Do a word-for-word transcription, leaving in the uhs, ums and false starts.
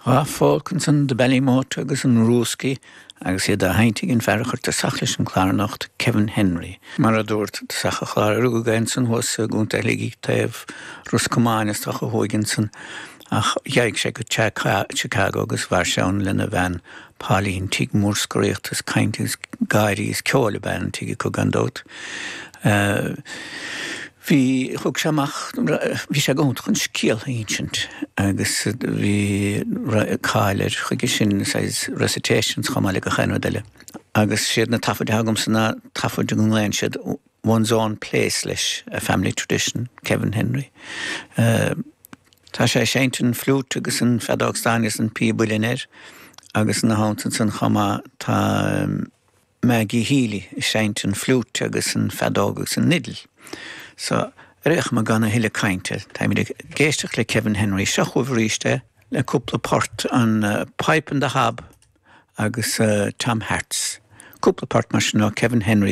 Dhá folk ansan The Ballymote agus an Rooskey agus iad á sheinnt ag an fear a chuir tosach leis an chlár anocht Kevin Henry. Mar a dúirt sa chlár rugadh ansan thuas i gContae Shligigh taobh Ros Comáin is dócha thuaidh ansan ach d'éag sé go Chicago agus mhair sé ann lena bhean Pauline tigh mór scoraíochta is cainte is gáirí is ceoil ab ea an tigh acu gan dabht. Uh, Bhí thug sé amach bhí sé go chun scéal a insint agus bhí cáil air chuige sin recitations chomh maith le gach aon rud eile. Agus siad na taifid agamsa ná taifid go nglaonn siad one's own place leis a family tradition Kevin Henry. Uh, tá sé seinnt an flute agus an feadóg stáin agus an píob uilleann air agus na hanta san chama tá um, Maggie Healy seinnt an flute agus an feadóg agus an fhidil. So réch ma ganna thuile cainte, Tá ag éisteacht le Kevin Henry seo chugaibh arís le cúpla port an uh, Pipe and the Hob agus uh, Tom Hart's. Cúpla port mar sin ó Kevin Henry